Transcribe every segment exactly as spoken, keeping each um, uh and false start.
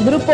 Grupo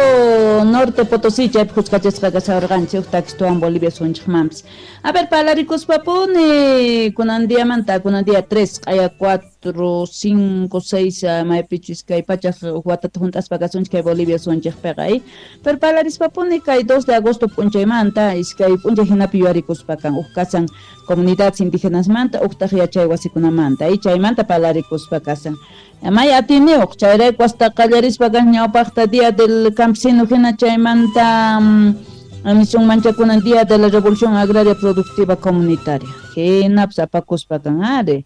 Norte Potosí chaypi khuskachasqa kasharqanchik takituwan Bolivia sunchikmanpis. A ver, parlarikuspapuni kunan diamanta, kunan día tres, q'aya cuatro, cinco, seis, maypichus kay pachaq watata hunt'aspa kasunchik kay Bolivia sunchikpiqa, eh? Pero parlarispapuni kay dos de agosto p'unchaymanta, iskay p'unchay hinapi yuyarikuspa kan, huk kasan comunidades indígenasmanta, huktaq yachay wasikunamanta, eh? Chaymanta parlarikuspa kasan. May atiniyuq, chayrayku hasta qallarispa kan ñawpaqta Día del Campesino hina chaymanta nisunmancha kunan Día de la Revolución Agraria Productiva Comunitaria. Hinapas apakuspa kan ari.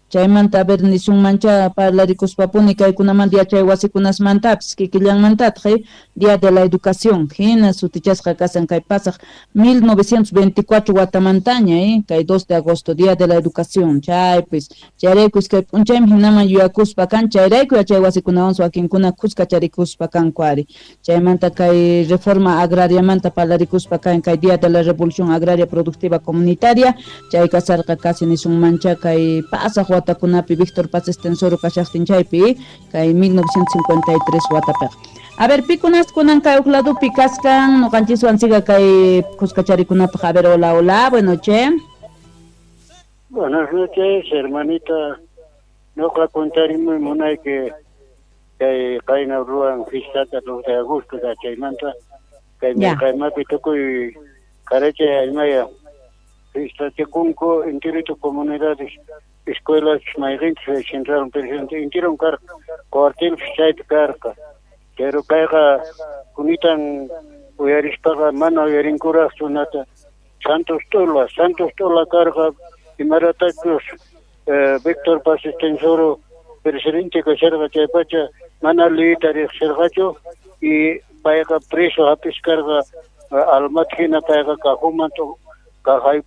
Chaymanta a ver nisunmancha parlarikuspapuni kaykunamanta yachay wasikunasmantapis kikillanmantataq, eh? Día de la Educación hina sutichasqa kasan kay pasaq mil novecientos veinticuatro watamantaña, eh? Kay dos de agosto Día de la Educación chaypis chayrayku iskay p'unchaymi hinaman yuyakuspa kan chayrayku yachay wasikunawan wakinkuna khuskacharikuspa kanku ari. Chaymanta kay reforma agrariamanta parlarikuspa kan kay Día de la Revolución Agraria Productiva Comunitaria chay kasarqa casi nisunmancha kay pasaq watakunapi Víctor Paz Estenssoro kashaqtin chaypi kay mil novecientos cincuenta y tres watapiqa. A ver, pikunas kunan kay uq ladupi kaskan ñuqanchiswan siga kay khuskacharikunapaq. A ver, hola, hola, buenas noches. Buenas noches, hermanita. Ñuqa contarimi munayki kay qayna ruwan fiestata dos de agosto chaymanta kay mirqaymapi tukuy qarachay aymaya fiestachakunku enterito comunidades escuelas mayqinchus central presidente enteron karqa cuartelpis chaypi karqa. Pero kayqa kunitan uyarispaqa mana uyarinkuraqchu nata Santos Tola, Santos Tola karqa imaratachus eh, Víctor Paz Estenssoro presidente kasharqa chaypacha mana liyta riqsirqachu y payqa preso hap'is karqa almat hina payqa cajonman kajay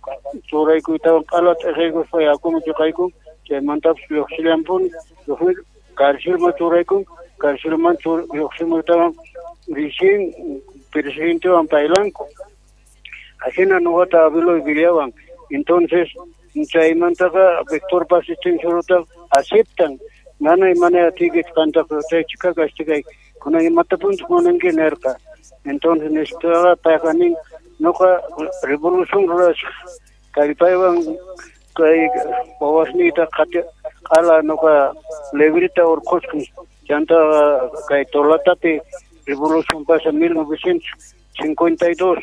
churaykuytawan q'ala t'ikaykuspa yakuman chuqaykun chaymantapis lluqsillanpuni lluqsi carcelman churaykun carcelman lluqsimuytawan recién presidentewan paylanku ajina nuqata abueloy villawan. Entonces chaymantaqa Víctor Paz Estenssoro aceptan mana mana atikich qantaqa chay chika kastigay kunan imatapunchik munanki nirqa. Entonces nispaqa payqa nin nuqa revolución rurasaq kallpaywan kay wawasniyta q'ala nuqa librita urqusqan chanta kay Tolatapi revolución pasa mil novecientos cincuenta y dos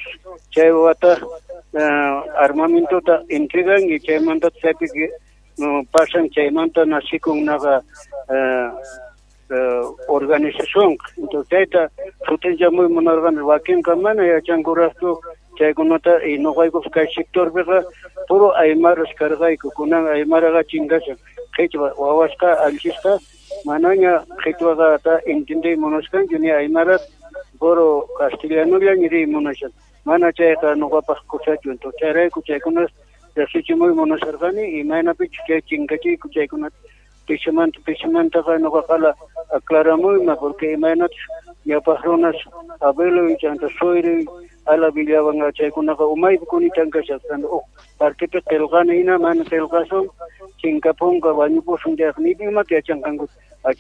chay wata armamentota entregan y chaymanta chaypi pasan chaymanta nacikun naqa organización. Entonces chayta sutinchamuy munarqani wakinqa mana yachankuraqchu chaykunata y nuqaykupas kay sectorpiqa puro aymaras karqayku kunan aymaraqa chinkasan qhichwa wawasqa allisqa manaña qhichwaqata entendey munasqanchu ni aymaras puro castellanolla riy munashan mana chayqa nuqapaq kusachu. Entonces chayrayku chaykunas riqsichimuy munasharqani imaynapichus chay chinkachiyku chaykunata pisimanta pisimantaqa nuqaqa aclaramuyma porque imaynachus ñawpaq runas abueloy chanta sueroy ala villawan chaykunaqa umaypi kunitan kasharqan uq partepi qillqani hina mana qillqasun chinkapunqa wañupusun chayqa ni imata yachanqanku.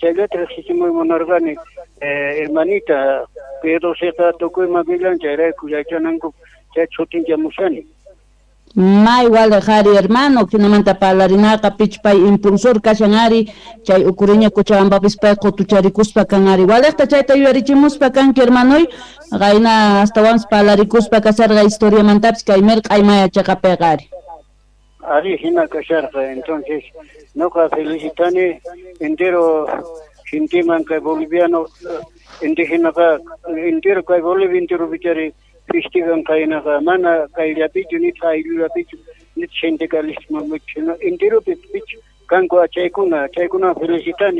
Chayllata riqsichimuy munarqani hermanita P doceqa tukuyman villan chayrayku yachananku chay sutinchamushani. May wale jari hermano, kinamanta parlarinaqa pichpay impulsor kashan ari, chay ukuriña Cochabambapis pay qutucharikuspa kan ari. Walejta chayta yuyarichimuspa kanki hermanoy, qayna astawanpis parlarikuspa kasarqa historiamantapis kay mirq'ay maya chaqapiqa ari. Ari hina kasharqa, entonces nuqa felicitani entero genteman kay boliviano indígenaqa entero kay Bolivia entero bichari festigan kaynaqa mana kayllapichu nitaq ayllullapichu nitaq sindicalismo enteropi pich kanku chaykuna chaykuna felicitani.